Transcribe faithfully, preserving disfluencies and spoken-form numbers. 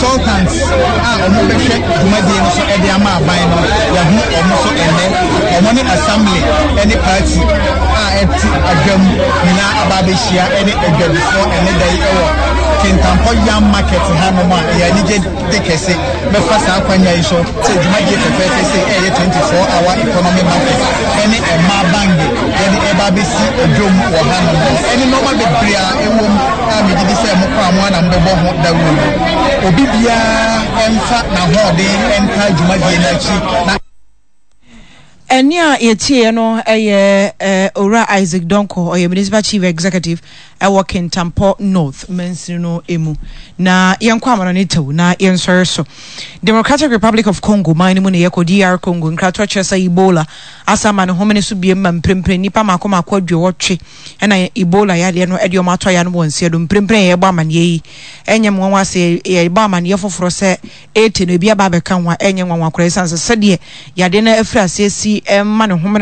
Consultants a wɔn bɛhwɛ dwumadie no so de ama aban no, yɛho wɔn so ɛnɛ. Wɔn ne assembly ne party a ɛte adwam nyinaa aba abɛhyia ne adwadifoɔ ɛne da yi wɔ Kintampo Yam Market hanom a ɛyɛ anigye de kɛse. Mɛfa saa akwanya yi so sɛ dwumadie fɛfɛɛfɛ sɛ ɛyɛ twenty-four hour economy market ɛne mmaa bange yɛde ɛba abɛsi adwam wɔ hanom no, ɛne nneɛma bebree a ɛwɔ mu a megye di sɛ mokɔ a mo ana mobɛbɔ ho dawuro no, obi biara ɛmfa n'ahoɔden ɛnka dwumadie no akyi na Ɛne a yɛtieɛ no ɛyɛ Owura Isaac Donkor, ɔyɛ Municipal Chief Executive ɛwɔ Kintampo North mansini no emu. Na yɛnkɔ amano ne tew na yɛnsɔre so. Democratic Republic of Congo man no mu na yɛkɔ, D R Congo. Nkratoɔ kyerɛ sɛ Ebola asa ama ne homene so biem ma mprempren nnipa mako mako aduɔwɔtwe ɛna Ebola yadeɛ no ɛde ɔmo atɔ ya no wɔ nseɛ do. Mprempren yɛbɔ amanneɛ yi, ɛnyɛ nwanwa sɛ yɛbɔ amanneɛ foforɔ sɛ ete no ebi aba abɛka ho a, ɛnyɛ nwanwa koraa, ɛsiane sɛ sɛdeɛ yadeɛ no afiri aseɛ si ɛma ne homene